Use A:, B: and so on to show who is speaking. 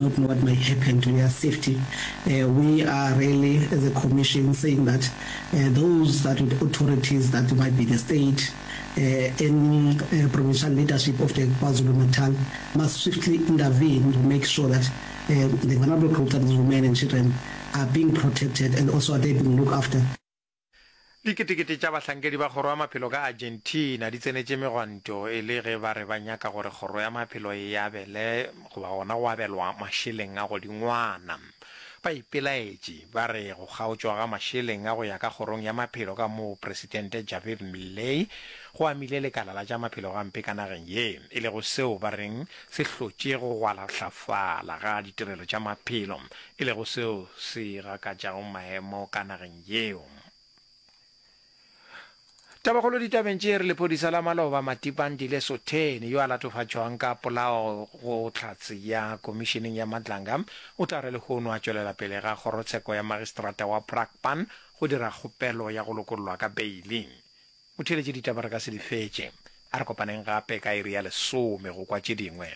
A: Not know what might happen to their safety. We are really, as a commission, saying that those that with authorities that might be the state, any provincial leadership of the KwaZulu-Natal must swiftly intervene to make sure that the vulnerable groups, that is women and children, are being protected and also are they being looked after.
B: Diketekete tša bahlankedi ba kgoro ya maphelo ka Argentina di tsenetše megwanto e le ge ba re ba nyaka gore kgoro ya maphelo e abele goba gona go abelwa mašeleng a godingwana. Ba ipelaetše ba re go kgaotšwa ga mašeleng a go ya ka kgorong ya maphelo ka Mopresidente Javier Milei go amile lekala la tša maphelo gampe ka nageng ye, e lego seo ba reng se hlotše go gwalahlafala ga ditirelo tša maphelo, e lego seo se gakatšago maemo ka nageng yeo. Tabakgolo ditabeng tše e re lephodisa la maloba Matipandile Sotheni yo a latofatšwang ka polao go hlatse ya komišeneng ya Madlanga o tla re lehono a tšwelela pele ga kgorotsheko ya magistrata wa Brakpan go dira kgopelo ya go lokollwa ka beili. Motheeletši ditaba re ka se di fetše. A re kopaneng gape ka iri ya lesome go kwa tše dingwe.